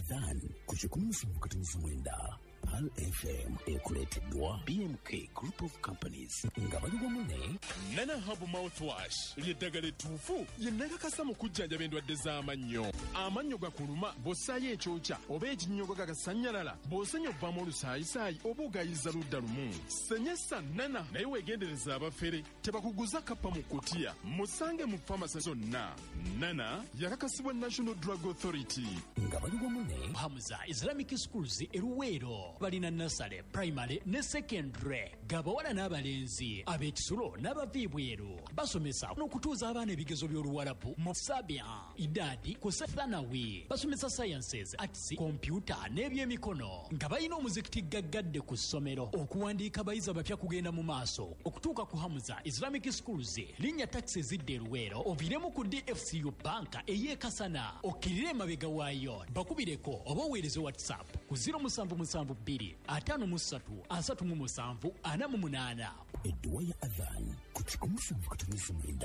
Adhan ku 179 Pearl FM ekuleeteddwa BMK Group of Companies nga bali wamu ne Nana Herbal Mouthwash ly'eddagala ettuufu ye nakakasa mu kujjanjaba endwadde z'amannyo. Amannyo gakuluma bw'ossaayo ekyokya oba ekinnyogo gagasannyalala, bw'osenya ovaamu olusaayisaayi oba ogayiza ludda lumu. Senyesa Nana naye weegendereza abafere tebakuguza kappa mu kutiya. Musange mu famasi zonna. Nana yakakasibwa National Drug Authority. Nga bali wamu ne Hamza Islamic Schools e Luweero balina nursery, primary ne secondary gabawala n'abalenzi ab'ekisulo n'abava ebweru. Basomesa n'okutuuza abaana ebigezo by'Oluwarabu mu Sabia, Idadi ku Thanawi. Basomesa sciences, arts, computer n'ebyemikono nga balina omuzikiti gaggadde ku ssomero. Okuwandiika abayizi abapya kugenda mu maaso okutuuka ku Hamza Islamic Schools. Linnya taxi ezidda e Luweero oviiremu ku DFCU banka ey'e Kasana okkirire emabega waayo. Bakubireko oba oweereze WhatsApp ku 0772 53 37 48. Edduwa ya Adhan ku 179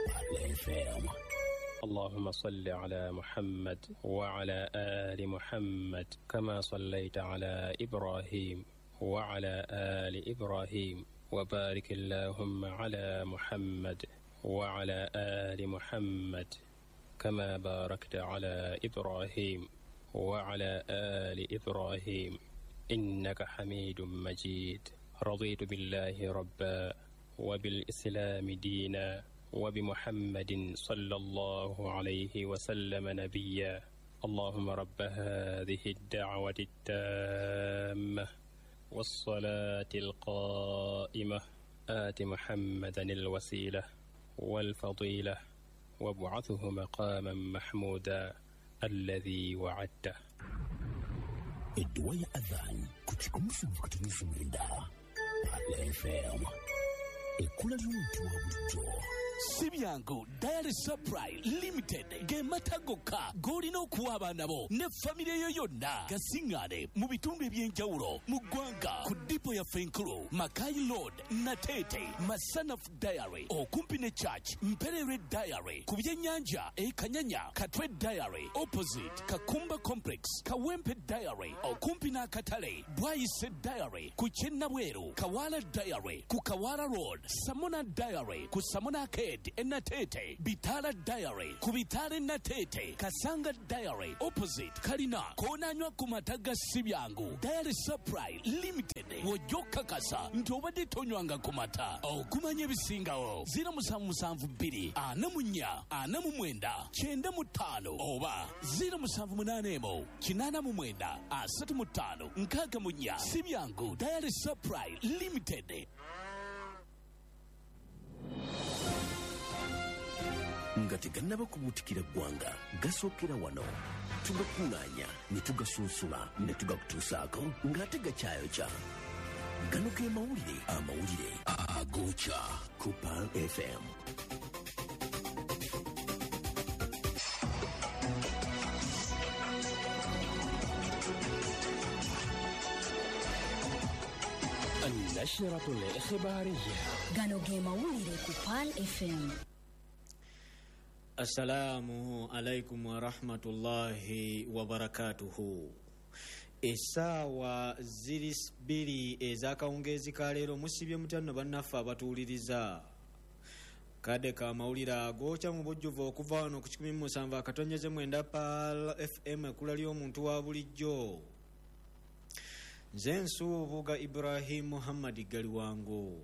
Pearl FM. اللهم صل على محمد وعلى آل محمد كما صليت على إبراهيم وعلى آل إبراهيم وبارك اللهم على محمد وعلى آل محمد كما باركت على إبراهيم وعلى آل إبراهيم إنك حميد مجيد. رضيت بالله ربا وبالإسلام دينا وبمحمد صلى الله عليه وسلم نبيا. اللهم رب هذه الدعوة التامة والصلاة القائمة آت محمدا الوسيلة والفضيلة وابعثه مقاما محمودا الذي وعدته. Edduwa ya Adhan ku 179 Pearl FM. Ekkula ly'omuntu wa bulijjo. Si byangu Diary Supply Limited ge mata gokka g'olina okuwa abaana bo ne famire yo yonna. Gasiŋŋaane mu bitundu eby'enjawulo mu ggwanga ku dipo yaffe enkulu Makai Road, Nateete, Masanaf Diary okumpi ne Church, Mperere Diary ku byennyanja e Kanyanya, Katwe Diary opposite Kakumba Complex, Kawempe Diary okumpi n'akatale, Bwayise Diary ku Kyennabweru, Kawala Diary ku Kawala Road, Samona Diary ku Samona Arcade Enatete, Bitala Diary ku Bitala Enatete, Kasanga Diary opposite Kalina, koonanywa ku mata ga si byangu Diary Supply Limited w'ojja okukakasa nti obadde tonywanga ku mata. Okumanya ebisingawo 0772 44 49 95 oba 0781 89 35 64. Si byangu Diary Supply Limited. Nga tegannaba kubuutikira ggwanga gasookera wano tugakuŋŋaanya ne tugasunsula ne tugakutuusaako ng'ate gakyayokya. Gano ge mawulire amawulire agookya ku Pearl FM. النشرة الإخبارية. Gano ge mawulire ku Pearl FM. Assalamu alaikum warahmatullahi wabarakatuhu. Essaawa ziri 2 ez'akawungeezi ka leero. Musibye mutya nno bannaffe abatuwuliriza. Kadde ka mawulire agookya mu bujjuvu okuva wano ku 107.9 Pearl FM ekkula ly'omuntu wa bulijjo. Nze Nsubuga Ibrahim Muhammad Galiwango.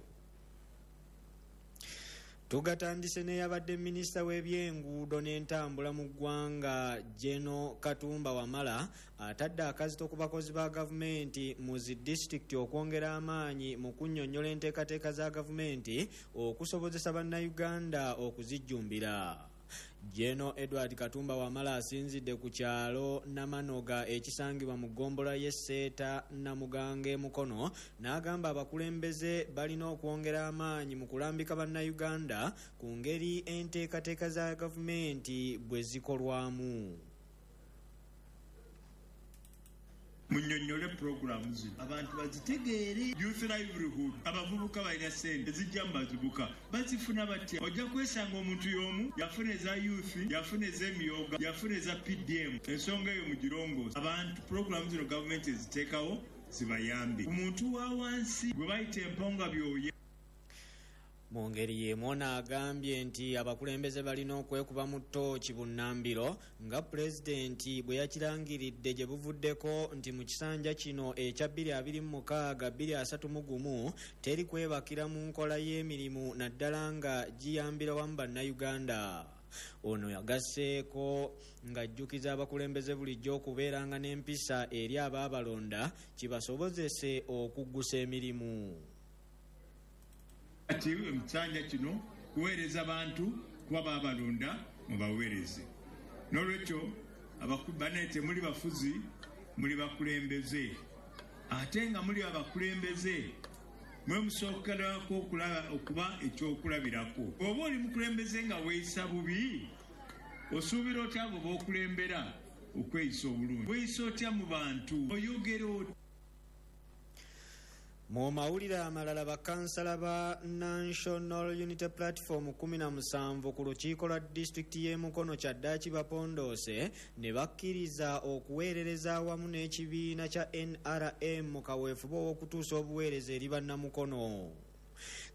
Tugatandise n'eyabadde minisita w'ebyenguudo n'entambula mu ggwanga Geno Katumba Wamala atadde akazito ku bakozi ba gavumenti mu zi disitulikiti okwongera amaanyi mu kunnyonnyola enteekateeka za gavumenti okusobozesa bannayuganda okuzijjumbira. Geno Edward Katumba Wamala asinzidde ku kyalo Namanoga ekisangibwa mu ggombolola y'e Seeta Namugange e Mukono n'agamba abakulembeze balina okwongera amaanyi mu kulambika bannayuganda ku ngeri enteekateeka za gavumenti bwe zikolwamu. Munnyonnyole puroguramu zino abantu bazitegeere. Youth livelihood, abavubuka balina ssente ezijja mu bavubuka, bazifuna batya? Ojja kwesanga omuntu y'omu yafuna eza youth, yafuna ez'emyoga, yafuna eza PDM. Ensonga eyo mugirongoosa. Abantu puroguramu zino gavumenti eziteekawo zibayambe. Omuntu wa wansi gwe bayita emponga byoya. Mu ngeri y'emu ono agambye nti abakulembeze balina okwekuba mu ttooki bunnambiro nga pulezidenti bwe yakirangiridde gye buvuddeko nti mu kisanja kino ekya 2026-2031 teri kwebakira mu nkola y'emirimu naddala nga giyambira wamu bannayuganda. Ono yagasseeko ng'ajjukiza abakulembeze bulijjo okubeeranga n'empisa eri abaabalonda kibasobozese okuggusa emirimu. Ati ekisanja kino kuweereza bantu kuba baabalonda mubaweereze. N'olwekyo bannaye temuli bafuzi, muli bakulembeze. Ate nga muli abakulembeze mwe musookerako okuba ekyokulabirako. Bw'oba oli mukulembeze nga weeyisa bubi, osuubira otya abo b'okulembera okweyisa obulungi? Weeyisa otya mu bantu? Oyogera otya? Mu mawulire amalala, bakansala ba National Unity Platform 17 ku lukiiko lwa disitulikiti y'e Mukono kyaddaaki bapondoose ne bakkiriza okuweerereza awamu n'ekibiina kya NRM mu kaweefube ow'okutuusa obuweereza eri bannamukono.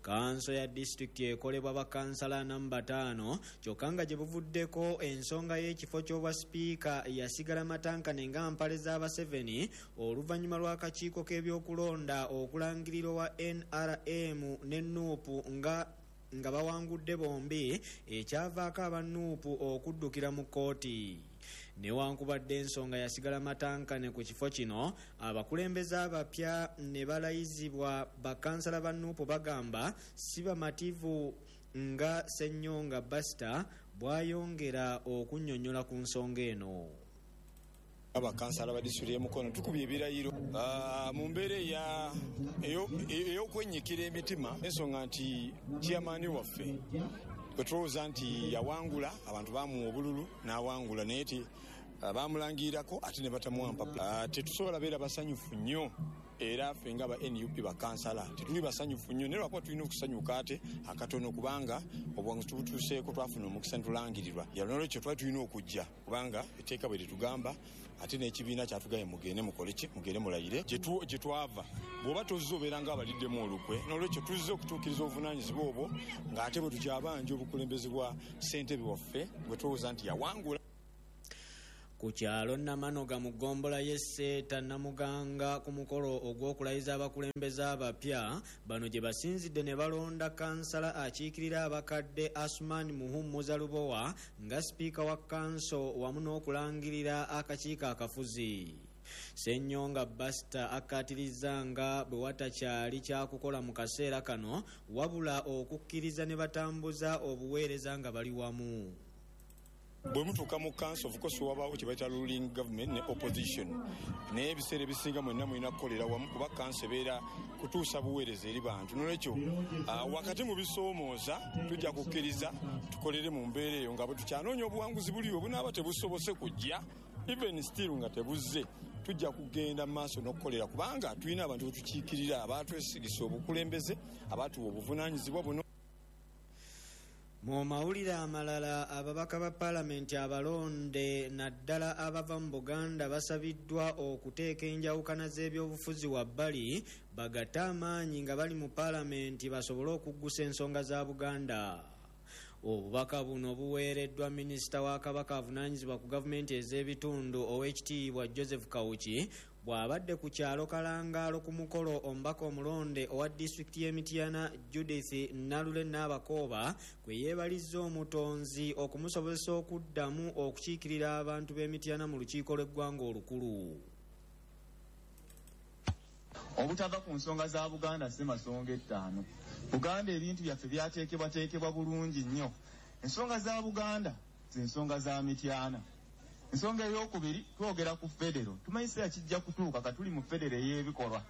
Kanso ya disitulikiti ekolebwa bakansala 45 kyokka nga gye buvuddeko ensonga y'ekifo ky'obwa sipiika yasigala matankane nga mpale z'Abaseveni oluvannyuma lw'akakiiko k'ebyokulonda okulangirira owa NRM ne NUP nga bawangudde bombi, ekyavaako aba NUP okuddukira mu kkooti. Newankubadde ensonga yasigala matankane ku kifo kino, abakulembeze abapya ne balayizibwa bakansala ba NUP bagamba si bamativu nga Ssenyonga Basita bw'ayongera okunnyonnyola ku nsonga eno. Abakansala ba disitulikiti y'e Mukono tukubye ebirayiro mu mbeera ey'okwennyikira emitima, ensonga nti chairman waffe bwe tulowooza nti yawangula, abantu bamuwa obululu n'awangula, naye ti bamulangirirako ate ne batamuwa mpapula. Tetusobola beera basanyufu nnyo, era ffe nga ba NUP bakansala tetuli basanyufu nnyo, naye lwakuba tulina okusanyuka ate akatono kubanga obuwanguzi tubutuuseeko, twafuna omukisa ne tulangirirwa. N'olwekyo twali tulina okujja kubanga etteeka bwe litugamba, ate n'ekibiina kyatugambye mugende mukole ki, mugende mulayire. Gye twava bw'oba tozze obeera nga abaliddemu olukwe. N'olwekyo tuzze okutuukiriza obuvunaanyizibwa obwo ng'ate bwe tukyabanja obukulembeze bwa ssentebe waffe bwe tulowooza nti yawangula. Ku kyalo Namanoga mu ggombolola y'e Sseeta Namuganga ku mukolo ogw'okulayiza abakulembeze abapya, bano gye basinzidde ne balonda kansala akiikirira abakadde Asuman Muhummuza Lubowa nga sipiika wa kanso wamu n'okulangirira akakiiko akafuzi. Ssenyonga Basita akkaatirizza nga bwe watakyali kyakukola mu kaseera kano, wabula okukkiriza ne batambuza obuweereza nga bali wamu. Bwe mutuuka mu council, of course wabaawo kye bayita ruling government ne opposition, naye ebiseera ebisinga mwenna mulina kukolera wamu kuba kanso ebeera kutuusa buweereza eri bantu. Nolwekyo wakati mu bisoomooza tujja kukkiriza tukolere mu mbeera eyo nga bwe tukyanoonya obuwanguzi buliwo bunaaba tebusobose kujja, even still nga tebuzze, tujja kugenda mu maaso n'okukolera kubanga tulina abantu be tukiikirira abaatwesigisa obukulembeze, abaatuwa obuvunaanyizibwa buno. Mu mawulire amalala, ababaka ba paalamenti abalonde naddala abava mu Buganda basabiddwa okuteeka enjawukana z'ebyobufuzi wabbali bagatte amaanyi nga bali mu paalamenti basobole okuggusa ensonga za Buganda. Obubaka buno buweereddwa minisita wa Kabaka avunaanyizibwa ku gavumenti ez'ebitundu ow'ekitiibwa Joseph Kawuki bw'abadde ku kyalo Kalangaalo ku mukolo omubaka omulonde owa disitulikiti y'e Mityana Judith Nalule Nabakooba kwe yeebalizza omutonzi okumusobozesa okuddamu okukiikirira abantu b'e Mityana mu lukiiko lw'eggwanga olukulu. Obutava ku nsonga za Buganda si masonga ettaano. Buganda ebintu byaffe byateekebwateekebwa bulungi nnyo. Ensonga za Buganda ze nsonga za Mityana. Ensonga ey'okubiri twogera ku federo. Tumanyi kiseera kijja kutuuka ka tuli mu federo ey'ebikolwa.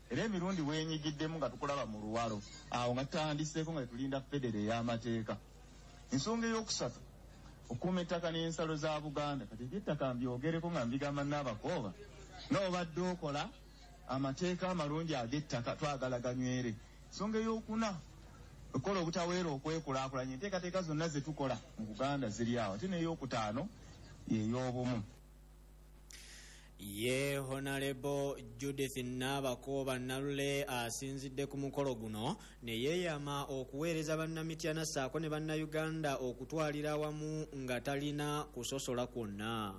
Era emirundi weenyigiddemu nga tukulaba mu luwalo. Awo nga tutandiseeko nga tulinda federo ey'amateeka. Ensonga ey'okusatu okukuuma ettaka n'ensalo za Buganda. Kati eby'ettaka mbyogereko nga mbigamba Nabakooba. Nga obadde okola amateeka amalungi ag'ettaka, twagala ganywere. Ensonga ey'okuna, okukola obutaweera okwekulaakulanya, enteekateeka zonna ze tukola mu Buganda ziri awo. Ate n'eyokutaano y'ey'obumu. Ye Honorable Judith Nabakooba Nalule asinzidde ku mukolo guno ne yeeyama okuweereza bannamityana ssaako ne bannayuganda okutwalira awamu nga talina kusosola kwonna.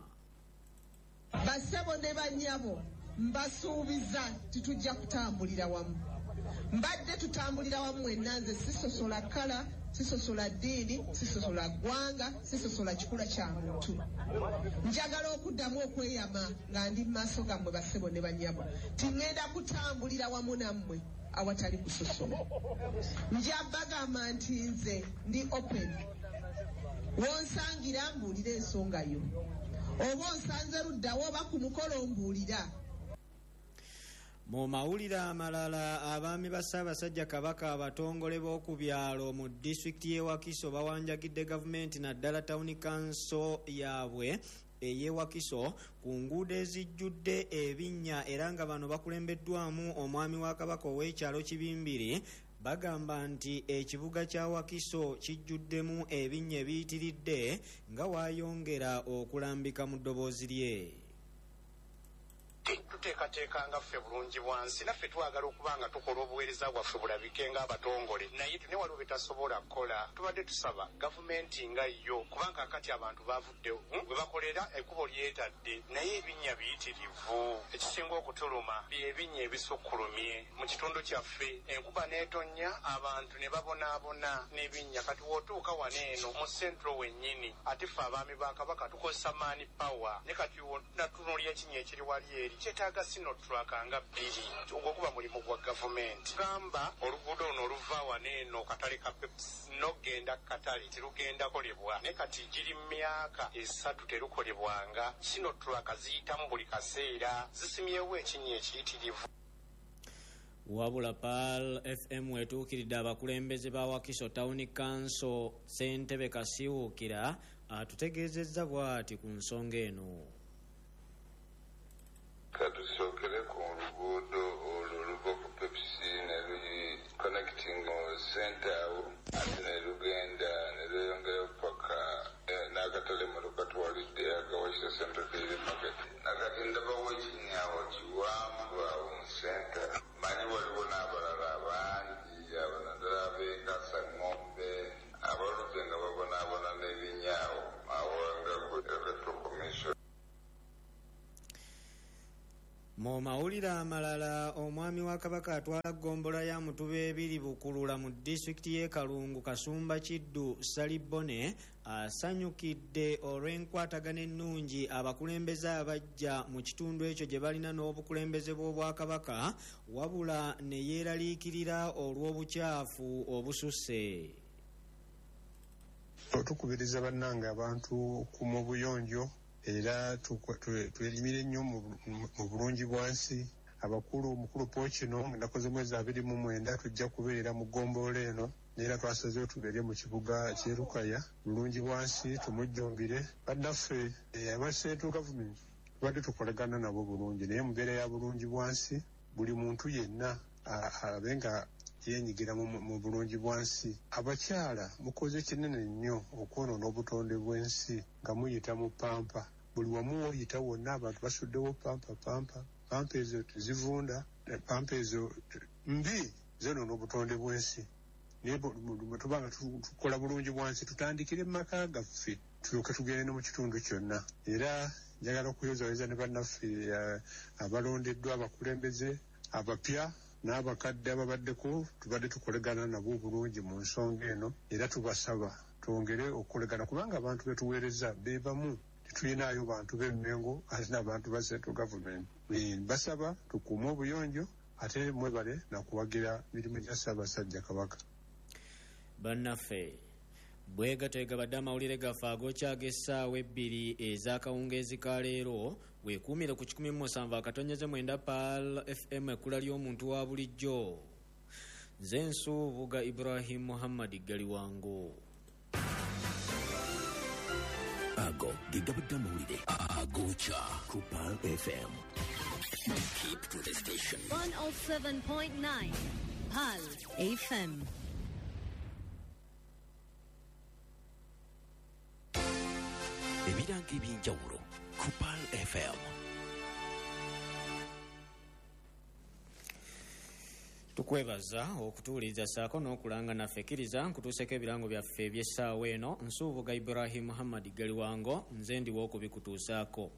Bassebo ne bannyabo, mbasuubiza titujja kutambulira wamu. Mbadde tutambulira wamu mwenna. Nze sisosola kkala, sisosola ddiini, sisosola ggwanga, sisosola kikula kya muntu. Njagala okuddamu okweyama nga ndi mu maaso gammwe, bassebo ne bannyabo, tiŋŋenda kutambulira wamu nammwe awatali kusosola. Nja bagamba nti nze ndi open. Wonsangira mbuulira ensonga yo, oba onsanze luddawo oba ku mukolo, mbuulira. Mu mawulire amalala, abaami ba Ssaabasajja Kabaka abatongole b'oku byalo mu disitulikiti y'e Wakiso bawanjagidde gavumenti, naddala tawuni kanso yaabwe ey'e Wakiso, ku nguudo ezijjudde ebinnya, era nga bano bakulembeddwamu omwami wa Kabaka ow'ekyalo Kibimbiri. Bagamba nti ekibuga kya Wakiso kijjuddemu ebinnya ebiyitiridde, nga waayongera okulambika mu ddoboozi lye. Tuteekateeka nga ffe bulungi bwansi, naffe twagala okuba nga tukola obuweereza bwaffe bulabike ng'abatongole, naye ne waliwo betasobola kukola. Tubadde tusaba gavumenti nga yo, kubanga akati abantu bavuddewo bwe bakolera, ekkubo lyetadde, naye ebinnya biyitirivu. Ekisinga okutuluma byebinnya ebisukkulumye mu kitundu kyaffe. Enkuba n'etonnya, abantu ne babonaabona n'ebinnya. Kati w'otuuka wano eno mu central wennyini, ate ffe abaami ba Kabaka tukozesa man power, ne kati natunuulya ekinnya ekiri wali eri kyetaaga Sinotruk nga bbiri. Ogwo guba mulimu gwa gavumenti. Gamba oluguudo luno oluva wano eno katale ka Pepsi n'okgenda katale terugenda kolebwa, naye kati giri myaka 3 terukolebwanga. Sinotruk ziyitamu buli kaseera, zisimyewo ekinnya ekiyitirivu. Wabula Pearl FM etuukiridde abakulembeze ba Wakiso Town Council, ssentebe Kasiwukira atutegeezezza bw'ati ku nsonga eno. Katusookere ku luguudo olwo oluva ku Pepsi ne connecting center awo, ate ne lugenda ne lweyongera paka n'akatale motoka twalidde akawakisa Central Daily Market. Nakati ndabawo ekinyawo kiwanvu awo mu center. Manyi waliwo n'abalala bangi abo, naddala ab'ekasa ng'ombe, abaludde nga babonaabona n'ebinyaawo awo nga ku Electoral Commission. Mu mawulire amalala, omwami wa Kabaka atwala ggombolola ya Mutuba ebiri Bukulula mu disitulikiti y'e Kalungu, Kasumba Kiddu Salibone, asanyukidde olw'enkwatagana ennungi abakulembeze abajja mu kitundu ekyo gye balina n'obukulembeze bw'Obwakabaka, wabula ne yeeraliikirira olw'obukyafu obususse. Tukubiriza bannange abantu okukuuma obuyonjo, era twerimire nnyo mu bulungi bwansi. Abakulu, omukulu Pookino, ennaku z'omwezi 29 tujja kubeera mu ggombolola eno, neera twasazeewo tubeere mu kibuga ky'e Lukaya. Bulungi bwansi tumujjumbire. Bannaffe aba central government tubadde tukolagana nabo bulungi, naye mu mbeera ya bulungi bwansi, buli muntu yenna abe nga yenyigira mu bulungi bwansi. Abakyala mukoze kinene nnyo okwonoona obutonde bw'ensi nga muyita mu pampa. Buli wamu woyita wonna abantu basuddewo pampa. Pampa, pampa ezo tezivunda, pampa ezo mbi, zonoona obutonde bw'ensi. Naye bwe tuba nga tukola bulungi bwansi, tutandikire mu maka gaffe, tulyoke tugende ne mu kitundu kyonna. Era njagala okuyozayoza ne bannaffe abalondeddwa, abakulembeze abapya n'abakadde ababaddeko, tubadde tukolegana nabo obulungi mu nsonga eno, era tubasaba twongere okukolegana, kubanga abantu betuweereza beebamu. Tetulinayo bantu b'Emmengo ate n'abantu ba central government. Basaba tukuume obuyonjo, ate mwebale nakuwagira mirimu gya Ssaabasajja Kabaka. Bannaffe, bwe gabadde amawulire gaffe agokyaga essaawa 2 ez'akawungeezi ka leero. Weekuumire ku 107.9 Pearl FM, ekkula ly'omuntu wa bulijjo. Nze Nsuubuga Ibrahim Muhammad Galiwango. Ago ge gabadde amawulire agokya ku Pearl FM. Keep to the station. 107.9 Pearl FM. Ebirango ebyenjawulo ku Pearl FM. Tukwebaza okutuwuliriza ssaako n'okulanga naffe. Kkiriza nkutuuseko ebirango byaffe eby'essaawa eno. Nsuubuga Ibrahim Muhammad Galiwango, nze ndiwo okubikutuusaako.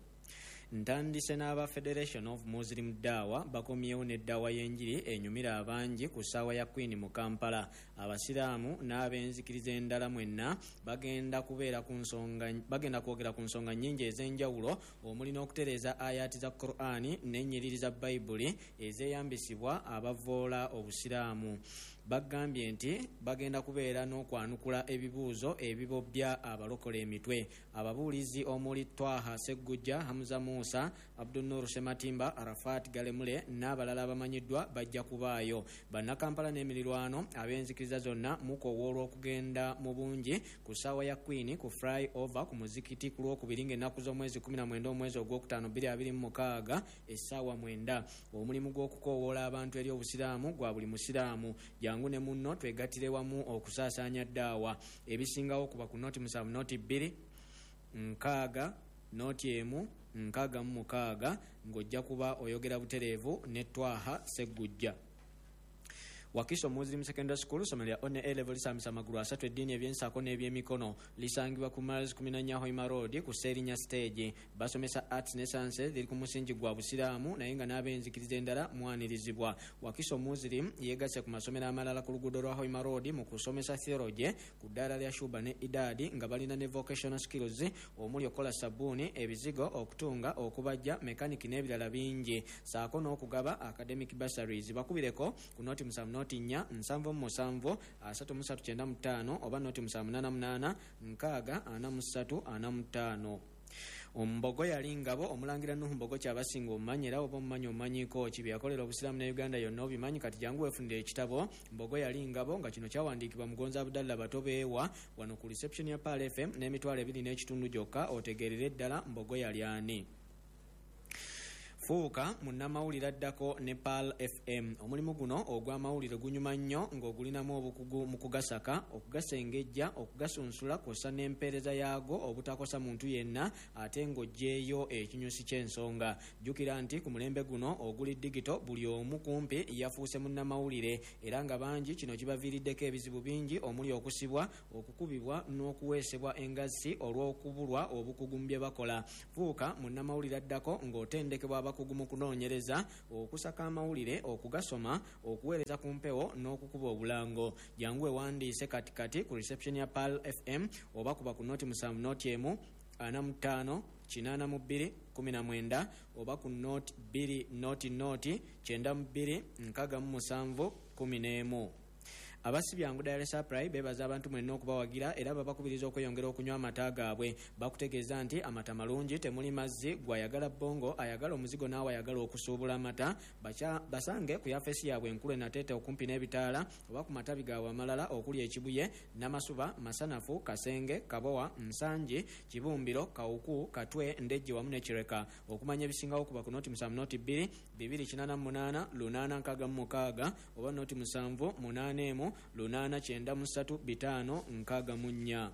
Ntandise n'aba Federation of Muslim Dawa bakomyewo n'eddawa y'enjiri enyumira abangi ku ssaawa ya Queen mu Kampala. Abasiraamu n'ab'enzikiriza endala mwenna bagenda kubeera ku nsonga, bagenda kwogera ku nsonga nnyingi ez'enjawulo, omuli n'okutereeza ayaati za Qur'ani n'ennyiriri za Bayibuli ezeeyambisibwa abavoola Obusiraamu. Bagambye nti bagenda kubeera n'okwanukula ebibuuzo ebibobbya abalokola emitwe. Ababuulizi omuli Twaha Seggujja, Hamza Musa, Abdunur Sematimba, Arafat Galemule n'abalala abamanyiddwa bajja kubaayo. Bannakampala n'emirirwano ab'enzikiriza zonna mukowoolwa okugenda mu bungi ku ssaawa ya Queen ku fly over ku muzikiti ku Lwokubiri ng'ennaku z'omwezi 19 omwezi ogwokutaano 2026 essaawa 9. Omulimu gw'okukoowoola abantu eri Obusiraamu gwa buli musiraamu. Jangu ne munno twegattire wamu okusaasaanya ddaawa. Ebisingawo kuba ku noti 7 noti 2 6 noti 1 66 ng'ojja kuba oyogera butereevu ne Twaha Seggujja. Wakiso Muslim Secondary School, ssomero lya One A level, lisambisa amagulu asatu, eddiini, ebyensaako n'ebyemikono. Lisangibwa ku Miles 14 Hoima Road ku Seerinya Stage. Basomesa arts ne sciences, ziri ku musingi gwa Busiraamu, naye nga n'ab'enzikiriza endala mwanirizibwa. Wakiso Muslim yeegasse ku masomero amalala ku luguudo lwa Hoima Road mu kusomesa theology ku ddaala lya Shuba ne Idadi, nga balina ne vocational skills omuli okukola sabbuuni, ebizigo, okutunga, okubajja, mekaniki n'ebirala bingi, saako n'okugaba academic bursaries. Bakubireko ku noti 7 noti 4 77 33 95 oba noti 788 6 43 45. Ombogo yali ngabo. Omulangira Nuhu Mbogo kyabasinga omumanyi, era oba omumanyi omumanyiiko ki bye yakolera Obusiraamu ne Uganda yonna obimanyi. Kati jangu weefunire ekitabo Mbogo yali ngabo, nga kino kyawandiikibwa Mugonzi Abudallah Batobeewa, wano ku reception ya Pearl FM n'25,000 gyokka, otegeerere ddala Mbogo yali ani. Fuuka munnamawulire addako ne Pearl FM. Omulimu guno ogw'amawulire gunyuma nnyo ng'ogulinamu obukugu mu kugasaka, okugasengejja, okugasunsula kw'ossa n'empeereza yaago obutakosa muntu yenna, ate ng'oggyeeyo ekinyusi ky'ensonga. Jjukira nti ku mulembe guno oguli digito, buli omu kumpi yafuuse munnamawulire, era nga bangi kino kibaviiriddeko ebizibu bingi omuli okusibwa, okukubibwa n'okuweesebwa engassi olw'okubulwa obukugu mu bye bakola. Fuuka munnamawulire addako ng'otendekebwa abakugu mu kunoonyereza, okusaka amawulire, okugasoma, okuweereza ku mpewo n'okukuba obulango. Jangu ewandiise katikati ku reception ya Pearl FM oba kuba ku noti 7 noti 1 45 82 19 oba ku noti 2 noti noti 92 67 11. Abasibyangu Dairy Supply beebaza abantu mwenna okubawagira, era babakubiriza okweyongera okunywa amata gaabwe. Bakutegeeza nti amata malungi, temuli mazzi. Gwayagala bongo, ayagala omuzigo, naawe ayagala okusuubula amata, basange ku yafesi yaabwe enkulu enateete okumpi n'ebitaala, oba ku matabi gaabwe amalala okuli Ekibuye, Namasuba, Masanafu, Kasenge, Kabowa, Nsangi, Kibumbiro, Kawuku, Katwe, Ndejje wamu ne Kireka. Okumanya ebisingawo kuba ku noti 7 noti 2 288 866 oba noti 7 8 1 893 564.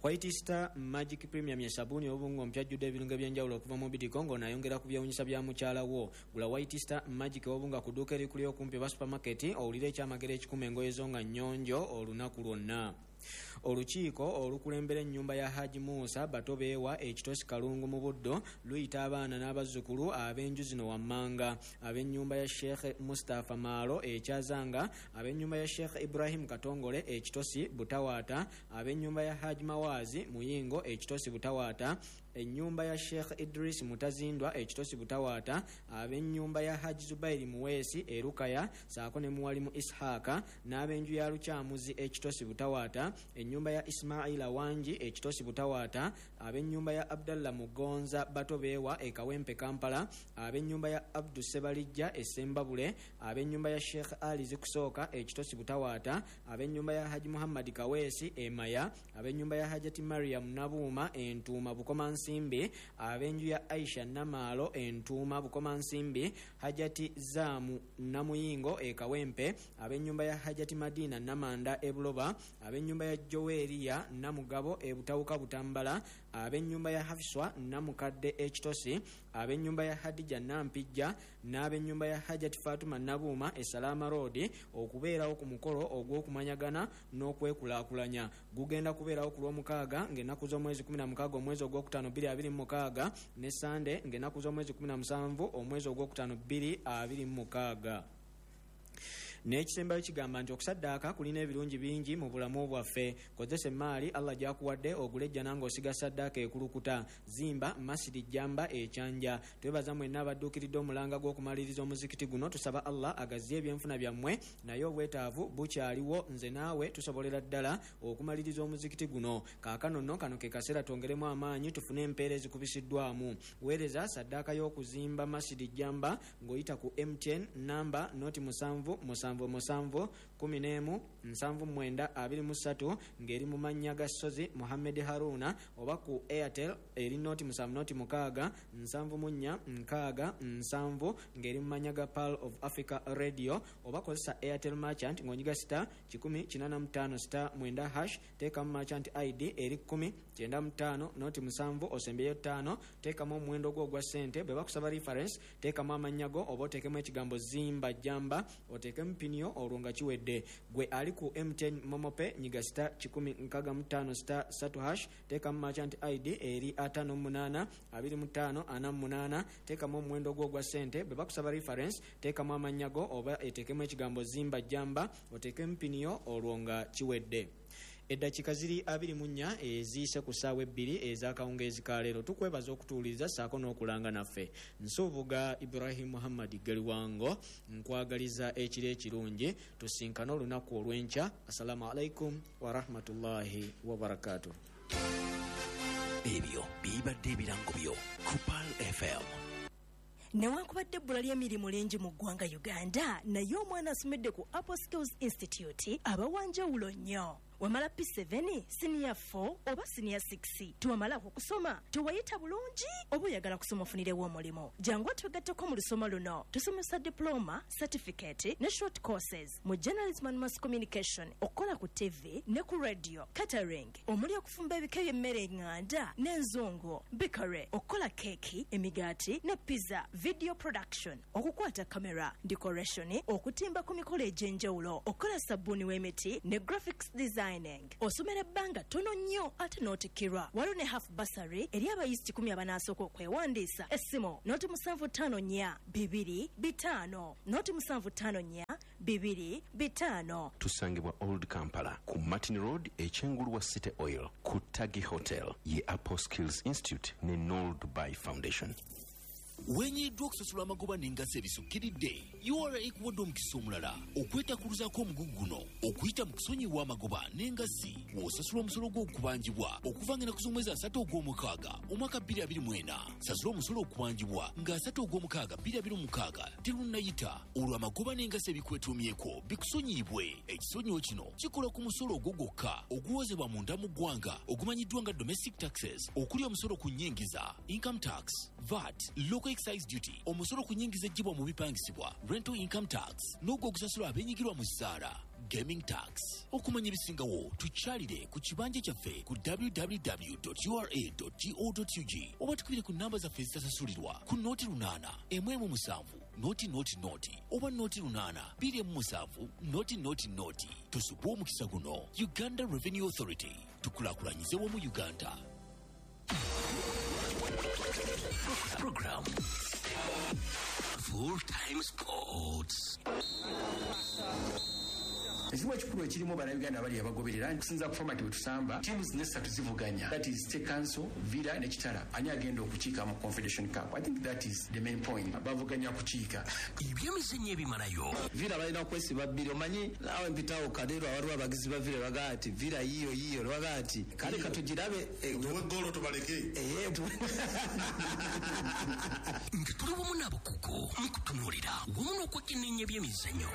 White Star Magic Premium ye sabuni obungo mpya jjudde ebirungo ebyenjawulo okuva mu bidiko, ng'onayongera ku byewunyisa bya mukyala wo. Gula White Star Magic obunga ku dduuka erikuli okumpi oba supermarket, owulire ekyamagero ekikuma engoye zo nga nnyonjo olunaku lwonna. Olukiiko olukulembera ennyumba ya Haji Musa Batobeewa Ekitosi Kalungu mu Buddo luyita abaana n'abazzukulu ab'enju zino wammanga: ab'ennyumba ya Sheikh Mustapha Maalo Ekyazanga, ab'ennyumba ya Sheikh Ibrahim Katongole Ekitosi Butawaata, ab'ennyumba ya Haji Mawazi Muyingo Ekitosi Butawaata, ennyumba ya Sheikh Idris Mutazindwa Ekitosi Butawaata, ab'ennyumba ya Haji Zubairi Muweesi Erukaya saako ne Muwalimu Ishaaka, n'ab'enju ya Lukyamuzi Ekitosi Butawaata, ennyumba ya Ismaila Wangi Ekitosi Butawaata, ab'ennyumba ya Abdallah Mugonza Batobeewa e Kawempe Kampala, ab'ennyumba ya Abdu Sebalijja e Sembabule, ab'ennyumba ya Sheikh Ali Zikusooka Ekitosi Butawaata, ab'ennyumba ya Haji Muhammad Kaweesi e Maya, ab'ennyumba ya Hajati Mariam Nabuuma Entuuma Bukomansi. Bukomansimbi, ab'enju ya Aisha Namaalo Entuuma Bukomansimbi, Hajati Zaamu Namuyingo e Kawempe, ab'ennyumba ya Hajati Madina Namanda e Buloba, ab'ennyumba ya Joweria Namugabo e Butawuka Butambala, ab'ennyumba ya Hafiswa Namukadde e Kitosi, ab'ennyumba ya Hadija Nampijja n'ab'ennyumba ya Hajati Fatuma Nabuuma e Salama Road okubeerawo ku mukolo ogw'okumanyagana n'okwekulaakulanya. Gugenda kubeerawo ku Lwomukaaga ng'ennaku z'omwezi 16 omwezi ogwokutaano 2026 ne Sande ng'ennaku z'omwezi 17 omwezi ogwokutaano 2026. N'ekisembayo kigamba nti okusaddaaka kulina ebirungi bingi mu bulamu bwaffe. Kozesa emaali Allah gy'akuwadde ogule ejjana ng'osiga saddaaka ekulukuta. Zimba Masidi Jamba Ekyanja. Twebaza mwenna abadduukiridde omulanga gw'okumaliriza omuzikiti guno. Tusaba Allah agaziye ebyenfuna byammwe, naye obwetaavu bukyaliwo. Nze naawe tusobolera ddala okumaliriza omuzikiti guno. Kaakano nno kano ke kaseera twongeremu amaanyi tufune empeera ezikubisiddwamu. Weereza saddaaka y'okuzimba Masidi Jamba ng'oyita ku MTN namba noti 7 7 7 11 79 23 ng'eri mu mannya ga Ssozi Muhammed Haruna, oba ku Airtel eri noti 7 noti 6 74 6 7 ng'eri mu mannya ga Pearl of Africa Radio, oba kozesa Airtel Merchant ng'onyiga star 185 star 9 hash, teekamu Merchant ID eri 10 95 noti 7 osembyeyo 5, teekamu omuwendo gwo ogwa ssente. Bwe bakusaba reference teekamu amannya go oba oteekemu ekigambo Zimba Jamba, oteekemu piniyo olwo nga kiwedde. Gwe ali ku MTN Momope nyiga star 165 star 3 hash, teekamu Merchant ID eri 58 25 48, teekamu omuwendo gwo ogwa ssente. Bwe bakusaba reference teekamu amannya go oba eteekemu ekigambo Zimba Jamba, oteekemu piniyo olwo nga kiwedde. Eddakiika ziri 24 eziyise ku ssaawa 2 ez'akawungeezi ka leero. Tukwebaza okutuwuliriza ssaako n'okulanga naffe. Nsuubuga Ibrahim Muhammad Galiwango, nkwagaliza ekiro ekirungi. Tusinkane olunaku olw'enkya. Assalamu alaikum warahmatullahi wabarakatuh. Ebyo bibadde ebirango byo ku Pearl FM. Newankubadde ebbula ly'emirimu lingi mu ggwanga Uganda, naye omwana asomedde ku Apple Skills Institute aba wa njawulo nnyo. Wamala P7, siniya 4 oba siniya 6, tewamalako kusoma, tewayita bulungi oba oyagala kusoma ofunirewo omulimu, jangu otwegatteko mu lusoma luno. Tusomesa diploma, certificate ne short courses mu journalism and mass communication, okukola ku TV ne ku radio, catering omuli okufumba ebika by'emmere eŋŋanda n'enzungu, bakery, okukola keeki, emigaati ne pizza, video production, okukwata kamera, decoration, okutimba ku mikolo egy'enjawulo, okukola sabbuuni w'emiti ne graphics designing. Osomera ebbanga ttono nnyo ate n'otikkirwa. Waliwo ne half bursary eri abayizi 10 abanaasooka okwewandiisa. Essimu noti 754 2 5 noti 754 2 5. Tusangibwa Old Kampala ku Martin Road ekyengulu wa City Oil ku Tagi Hotel ye Apple Skills Institute ne Noel Dubai Foundation. Wenyiddwa okusasula amagoba n'engassi ebisukkiridde, URA ekuwadde omukisa omulala okwetakuluzaako omugugu guno okuyita mu kusonyiwa amagoba n'engassi w'osasula omusolo gw'okubanjibwa okuva ng'ennaku z'omwezi 3 ogw'omukaaga omwaka 2024. Sasula omusolo okubanjibwa nga 3 ogw'omukaaga 2026 terunnayita, olwo amagoba n'engassi ebikwetuumyeko bikusonyiyibwe. Ekisonyiwo kino kikola ku musolo ogwo gwokka oguwozebwa munda mu ggwanga ogumanyiddwa nga domestic taxes, okuli omusolo ku nnyingiza, income tax, VAT, local excise duty, omusolo ku nnyingiza eggyibwa mu bipangisibwa, rental income tax, n'ogwo ogusasulwa abeenyigirwa mu zzaala, gaming tax. Okumanya ebisingawo tukyalire ku kibanja kyaffe ku www.ura.go.ug oba tukubire ku namba zaffe ezitasasulirwa ku noti 8 1 7 0 0 0 oba noti 8 2 7 0 0 0. Tusubwe omukisa guno. Uganda Revenue Authority, tukulaakulanyize wamu Uganda. Program Full Time Sports. Ekizibu ekikulu ekirimu bannayuganda abali abagoberera kusinza ku format bwe tusamba, teams nesatu zivuganya, that is State Council, Villa ne Kitara, ani agenda okukiika mu Confederation Cup. I think that is the main point, bavuganya kukiika. Ebyemizannyo ebimalayo. Villa balina kwesiba bbiri, omanyi naawe mpitawo Kadeero, waliwo abagizi ba Villa bagaa ati Villa yiyo yiyo, bagaa ati kale katugirabe tuwe ggoolo tubaleke. Nga tuli wamu n'abakugu mu kutunuulira wamu n'okwekenneenya ebyemizannyo.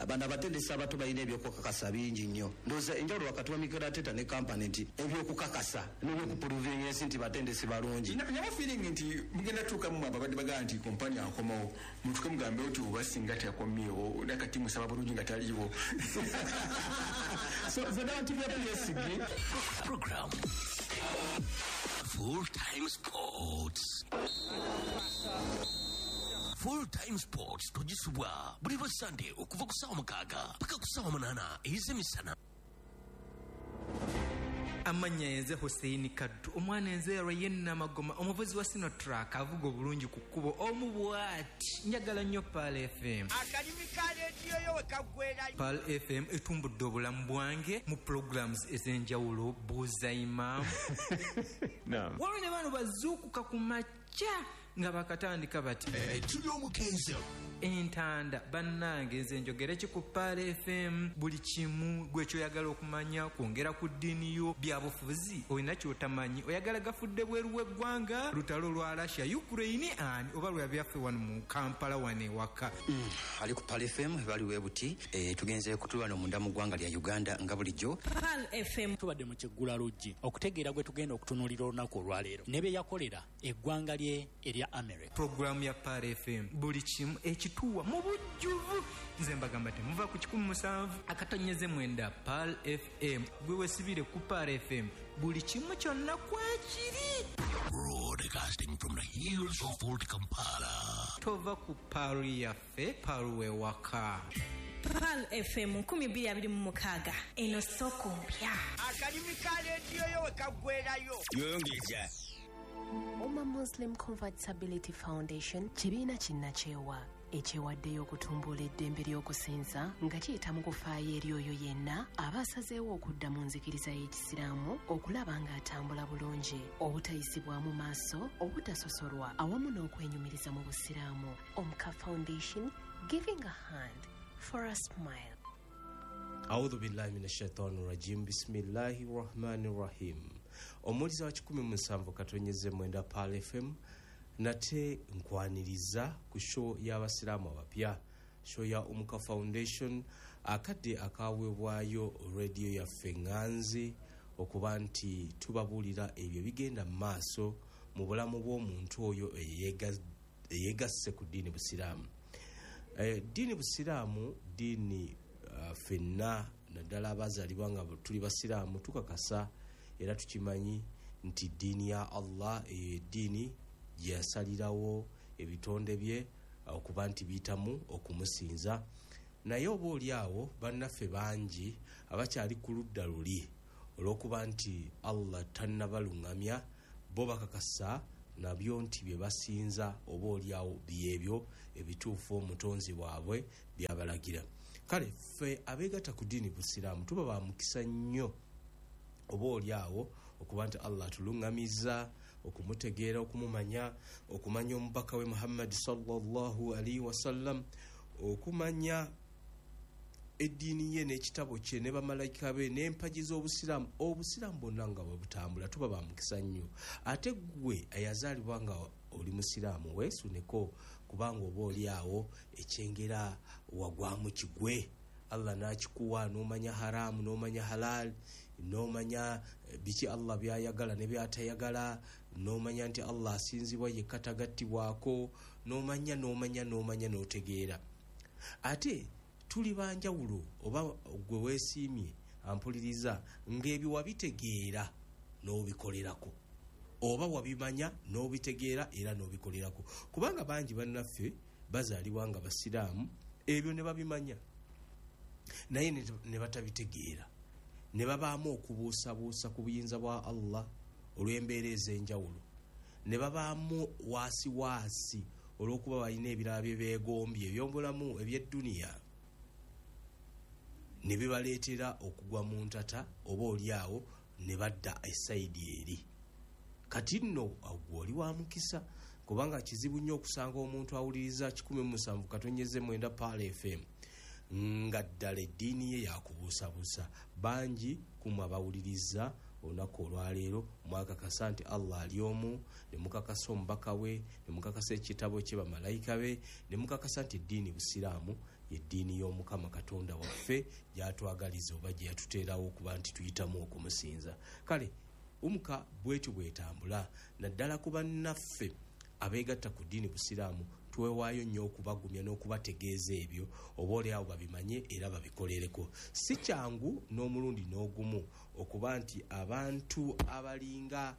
Abana abatendesi abato balina ebyokukakasa bingi nnyo. Ndowooza enjawulo wakati wa Mikel Arteta ne Kompany nti ebyokukakasa n'ebyokupuruvinga ensi nti batendesi balungi. Naba feeling nti mugenda tuukamu ababadde bagamba nti Kompany akomawo, mutuuke mugambe nti oba singa teyakomyewo nakati musaba bulungi nga taliiwo. So narrative ya PSG program Full Time Sports. Full Time Sports togisubwa buli lwa Sunday okuva ku ssaawa 6 paka ku ssaawa 8 ez'emisana. Amannya yenze Hussein Kaddu, omwana enzeerwa yenna Magoma, omuvuzi wa Sinotruck avuga obulungi ku kkubo omu bw'ati. Njagala nnyo Pearl FM. Akalimi ka leediyo yo we kaggweerayo. Pearl FM etumbudde obulamu bwange mu programs ez'enjawulo, buuza imam. Waliwo ne bano bazuukuka ku makya nga bakatandika bati tuli omukenzo entanda. Bannange nze njogere ki ku Pearl FM? Buli kimu gwe kyoyagala okumanya, kwongera ku ddiini yo, byabufuzi olina kyotamanyi, oyagala gafudde bweru w'eggwanga, lutalo lwa Russia Ukraine ani oba lwa byaffe wano mu Kampala wano ewaka. Ali ku Pearl FM bali webuti tugenze kutulwana munda mu ggwanga lya Uganda nga bulijjo. Pearl FM tubadde mu kiggula luggi okutegeera gwe tugenda okutunuulira olunaku olwaleero ne bye yakolera eggwanga lye erya America. Programu ya Pearl FM buli kimu ekituwa mu bujjuvu. Nze mbagamba temuva ku 107.9 Pearl FM. Gwe wesibire ku Pearl FM buli kimu kyonna kwekiri. Broadcasting from the hills of Old Kampala. Tova ku Pearl yaffe, Pearl wewaka. Pearl FM 2026 eno soko mpya. Akalimi ka leediyo yo we kaggweerayo. Yongeza. Umma Muslim Convertibility Foundation kibiina kinnakyewa ekyewaddeyo okutumbula eddembe ly'okusinza nga kiyita mu kufaayo eri oyo yenna aba asazeewo okudda mu nzikiriza y'Ekisiraamu okulaba ng'atambula bulungi, obutayisibwamu maaso, obutasosolwa awamu n'okwenyumiriza mu Busiraamu. Omka Foundation, giving a hand for a smile. A'udhu billahi minash shaitani rajim. Bismillahir rahmanir rahim. Omuwuliza wa 107.9 Pearl FM nate nkwaniriza ku show y'abasiraamu abapya, show ya Umka Foundation, akadde akaweebwayo radio yaffe ŋŋanzi okuba nti tubabuulira ebyo bigenda mu maaso mu bulamu bw'omuntu oyo eyeegasse ku ddiini Busiraamu. Ddiini Busiraamu ddiini ffenna naddala abazaalibwa nga tuli basiraamu tukakasa era tukimanyi nti ddiini ya Allah eyo eddiini gye yasalirawo ebitonde bye okuba nti biyitamu okumusinza. Naye oba oli awo bannaffe bangi abakyali ku ludda luli olw'okuba nti Allah tannabaluŋŋamya, bo bakakasa nabyo nti bye basinza oba oli awo byebyo ebituufu omutonzi waabwe byabalagira. Kale ffe abeegatta ku ddiini Busiraamu tuba ba mukisa nnyo oba oli awo okuba nti Allah atuluŋŋamizza okumutegeera, okumumanya, okumanya omubaka we Muhammad sallallahu alaihi wasallam, okumanya eddiini ye n'ekitabo kye ne bamalayika be n'empagi z'obusiraamu, obusiraamu bwonna nga bwe butambula. Tuba ba mukisa nnyo. Ate ggwe eyazaalibwa nga oli musiraamu weesuneko, kubanga oba oli awo ekyengera wagwamu kigwe, Allah n'akikuwa n'omanya haramu n'omanya halal, n'omanya biki Allah byayagala ne byatayagala, n'omanya nti Allah asinzibwa yekka tagattibwako, n'omanya n'omanya n'omanya n'otegeera. Ate tuli banjawulo, oba gwe weesiimye ampuliriza ng'ebyo wabitegeera n'obikolerako, oba wabimanya n'obitegeera era n'obikolerako, kubanga bangi bannaffe bazaalibwa nga basiraamu ebyo ne babimanya naye ne batabitegeera, ne babaamu okubuusabuusa ku buyinza bwa Allah olw'embeera ez'enjawulo, ne babaamu waasiwaasi olw'okuba balina ebirala bye beegombye eby'obulamu eby'edduniya, ne bibaleetera okugwa mu ntata oba oli awo ne badda esayidi eri. Kati nno gwe oli wa mukisa, kubanga kizibu nnyo okusanga omuntu awuliriza 107.9 Pearl FM nga ddala eddiini ye yakubuusabuusa. Bangi kumwe abawuliriza Olunaku olwaleero mwakakasa nti Allah ali omu, ne mukakasa omubaka we, ne mukakasa ekitabo kye, bamalayika be, ne mukakasa nti eddiini busiraamu yeddiini y'Omukama Katonda waffe gyatwagaliza oba gye yatuteerawo okuba nti tuyitamu okumusinza. Kale umuka bwetyo bwetambula, naddala ku bannaffe abeegatta ku ddiini busiraamu, twewaayo nnyo okubagumya n'okubategeeza ebyo oba oliawo babimanye era babikolereko. Si kyangu n'omulundi n'ogumu okuba nti abantu abalinga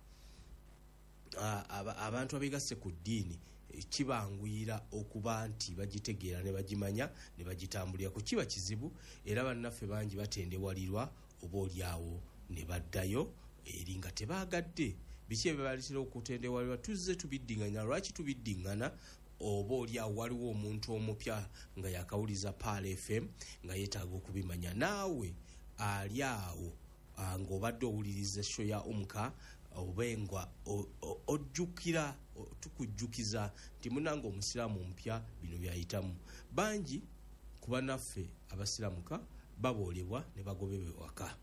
abantu abeegasse ku ddiini kibanguyira okuba nti bagitegeera ne bagimanya ne bagitambulirako. Kiba kizibu era bannaffe bangi batendewalirwa oba oliawo ne baddayo eri nga tebaagadde. Biki ebibaleetera okutendewalirwa? Tuzze tubiddinganya. Lwaki tubiddingana? Oba oliawo waliwo omuntu omupya nga yakawuliza Pearl FM nga yeetaaga okubimanya. Naawe ali awo ng'obadde owuliriza show ya Umuka, oba nga ojjukira, tukujjukiza nti munange omusiraamu omupya bino byayitamu. Bangi ku bannaffe abasiraamuka baboolebwa ne bagobebwa ewaka,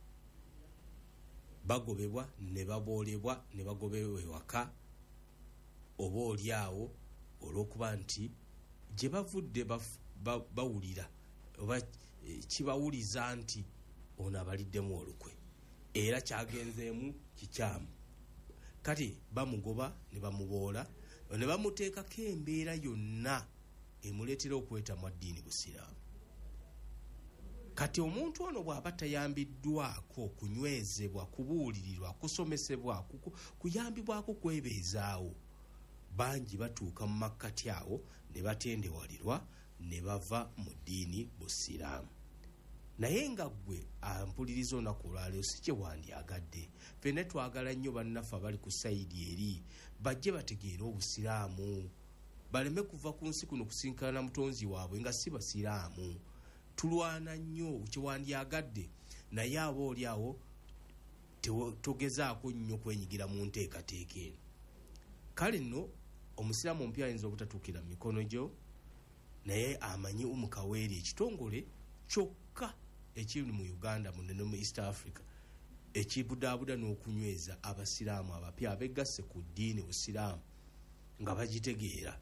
bagobebwa ne baboolebwa ne bagobebwa ewaka, oba oliawo olw'okuba nti gye bavudde bawulira oba kibawuliza nti ono abaliddemu olukwe era kyagenzeemu kikyamu. Kati bamugoba ne bamuboola ne bamuteekako embeera yonna emuleetera okwetamwa ddiini busiraamu. Kati omuntu ono bw'aba tayambiddwako kunywezebwa, kubuulirirwa, kusomesebwa, kuyambibwako kwebeezaawo, bangi batuuka mu makkati awo ne batendewalirwa ne bava mu ddiini busiraamu. Naye nga ggwe ampuliriza olunaku olwaleero si kye wandyagadde. Ffenna twagala nnyo bannaffe abali ku sayidi eri bajje bategeere obusiraamu, baleme kuva ku nsi kuno kusinkana mutonzi waabwe nga si basiraamu. Tulwana nnyo kye wandyagadde, naye aba oli awo togezaako nnyo kwenyigira mu nteekateeka eno. Kale nno omusiraamu omupya ayinza obutatuukira mu mikono gyo, naye amanyi Umukaweeri ekitongole kyokka ekiri mu Uganda muno ne mu East Africa ekibudaabuda n'okunyweza abasiraamu abapya abegasse ku ddiini busiraamu nga bagitegeera.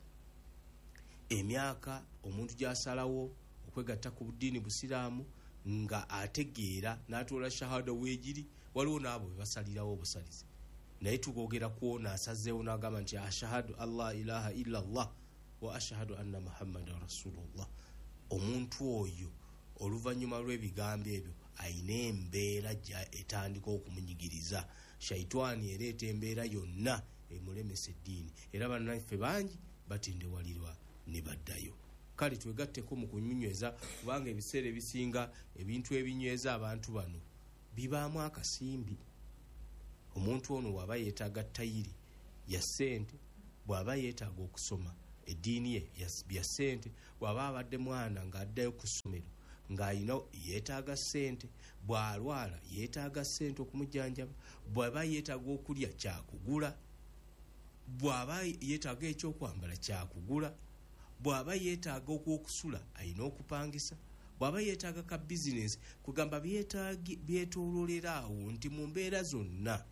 Emyaka omuntu gy'asalawo okwegatta ku ddiini busiraamu nga ategeera n'atoola shahada weegiri, waliwo n'abo be basalirawo obusalizi, naye tukwogera kwona asazeewo n'agamba nti ashahadu allah ilaha illa Allah wa ashahadu anna Muhammadan rasulullah. Omuntu oyo oluvannyuma lw'ebigambo ebyo ayina embeera etandika okumunyigiriza. Shaitwani ereeta embeera yonna emulemesa eddiini, era bannaffe bangi batendewalirwa ne baddayo. Kale twegatteko mu kunyweza, kubanga ebiseera ebisinga ebintu ebinyweza abantu bano bibaamu akasimbi. Omuntu ono bw'aba yeetaaga tayiri ya ssente, bw'aba yeetaaga okusoma eddiini ye bya ssente, bw'aba abadde mwana ng'addayo ku ssomero ng'ayina yeetaaga ssente, bw'alwala yeetaaga ssente okumujjanjaba, bw'aba yeetaaga okulya kyakugula, bw'aba yeetaaga ekyokwambala kyakugula, bw'aba yeetaaga okwokusula ayina okupangisa, bw'aba yeetaaga ka bizinesi, kugamba byetoololera awo nti mu mbeera zonna